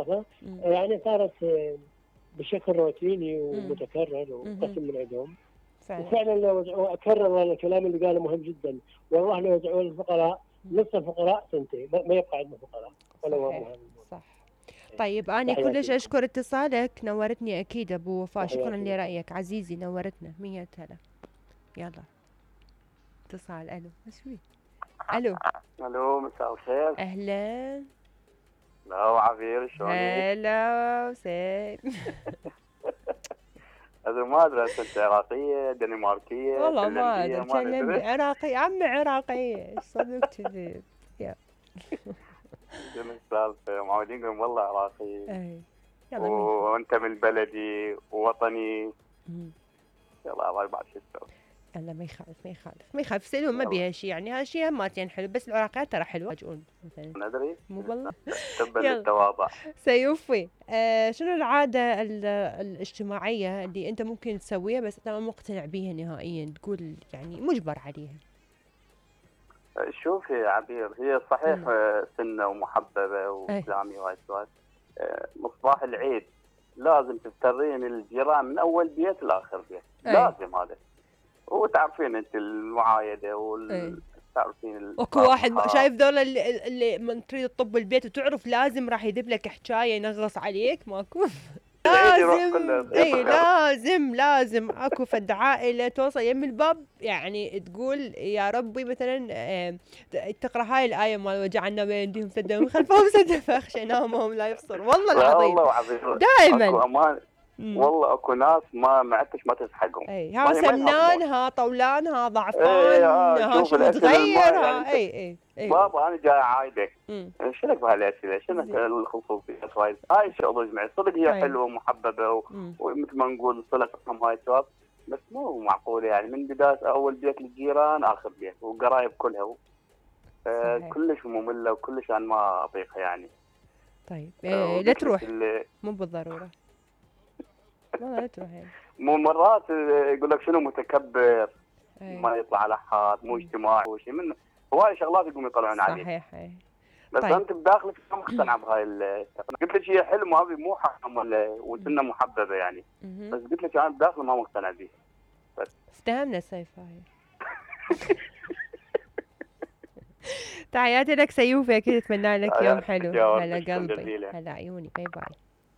الثقافه يعني صارت بشكل روتيني ومتكرر وقسم من عندهم. وفعلا لو اكرر انا الكلام اللي قاله مهم جدا، والله لو يدعوا الفقراء نص الفقراء سنتين ما يبقى عندنا فقراء ولا هو. صح. طيب أنا كلش أشكر اتصالك، نورتني أكيد أبو وفاء، شكرا لرأيك عزيزي، نورتنا 100 هلا. يلا اتصال. ألو مشوي. ألو مساء الخير. أهلا. لا عبير شلونك؟ هلا وسهلا. هذا ما ادري انت عراقيه دنماركيه والله ما ادري، كلمني عراقي عمي عراقيه صدق كذب. يا شنو السالفه؟ معودين نقول والله عراقي. اي وانت من بلدي ووطني. يلا الله بعد شو تسوي. لا ما يخالف سلوم ما بيها شيء، يعني هالشيء هماتين حلو، بس العراقيات ترى حلوه يفاجئون مثلا. ندري مو والله. تبا للتواضع. سيوفي شنو العاده الاجتماعيه اللي انت ممكن تسويها بس انت ما مقتنع بيها نهائيا، تقول يعني مجبر عليها؟ شوفي يا عبير، هي صحيح سنه ومحببه وكلامي وهاي السوالف. مصباح العيد لازم تفترين الجيران من اول بيت لاخر بيت. لازم هذا. وتعرفين انت المعايده تعرفين اكو واحد شايف ذولا اللي من تريد تطب البيت وتعرف لازم راح يذب لك حجايه ينغص عليك، ماكو. لازم اكو فد عائله توصل يم الباب يعني تقول يا ربي مثلا تقرا هاي الايه مال وجعلنا بين ايديهم سدا من خلفهم سدا فاخشيناهم لا يبصر. والله العظيم دائما اكو امان. والله اكو ناس ما عدتش ما تسحقهم. ها سمنان ها طولان ها ضعفان ها شو متغير اي بابا انا جاي عايدك. شنك بهالاسئله؟ شنك الخصوصيات هاي الشغله جمعي صدق هي حلوه ومحببه ومثل ما نقول صله رحم هاي السوالف، بس مو معقوله يعني من بدايه اول بيت للجيران اخر بيت وقرايب كلها كلش ممله وكلش انا ما اطيقها يعني. طيب لا تروح مو بالضروره والله لا تروح يعني. مو مرات يقول لك شنو متكبر ما يطلع على حد مو اجتماعي وشيء من هواي شغلات يقوم يطلعون عليه. صحيح بس طيب. انت بداخلك ما مقتنع بهاي قلت لك هي حلم هذه مو حرام وسنه محببه يعني. بس قلت لك انا بداخلي ما مقتنع بيه. بس افتهمنا سيف هاي. تحياتي لك سيوفي، اكيد اتمنى لك يوم حلو. هلا قلبي هلا عيوني باي باي.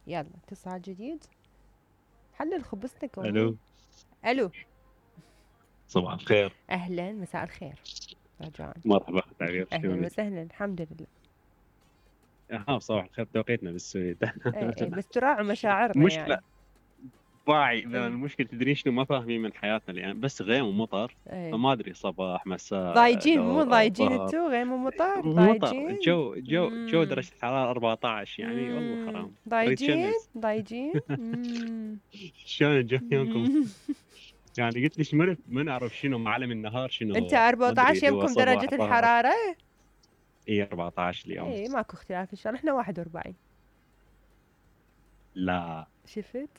يلا اتصال جديد. حلل خبزتك. الو صباح الخير. اهلا مساء الخير رجاء. مرحبا تعريف اهلا وسهلا الحمد لله. صباح الخير توقيتنا بالسويد. بس تراعوا مشاعرنا مشكلة يعني. واعي المشكلة تدرين شنو ما فاهمين من حياتنا الآن بس غيم ومطر. فما ادري صباح مساء ضايجين مو ضايجين انتو غيم ومطر ضايجين. جو درجة الحرارة 14 يعني والله حرام. ضايجين شلون الجو يومكم؟ يعني قلت ليش ما نعرف شنو معلم النهار شنو. انت 14 يمكم درجة الحرارة؟ اي 14 اليوم. اي ماكو اختلاف ان شاء الله. احنا 41. لا شفت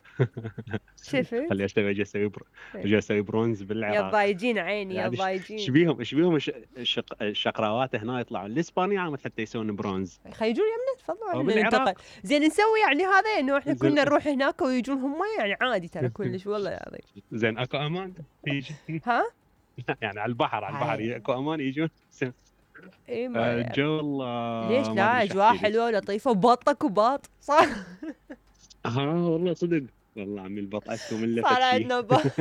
خلي اجي اسوي برونز بالعراق. يا ضايجين عيني يعني يا ضايجين. ايش بيهم الشقراوات هنا يطلعون الاسبانيا عم حتى يسوون برونز. خيجون يمنا تفضلوا ننتقل. زين نسوي يعني هذا انه احنا كنا نروح هناك ويجون هم يعني عادي ترى كلش والله العظيم. زين اكو امان يجي ها يعني على البحر اكو امان يجون. اي ما جو والله ليش لا اجواء حلوه ولطيفه وباطك وباط صح. والله صدق والله عمي البط عندكم الا صار عندنا بط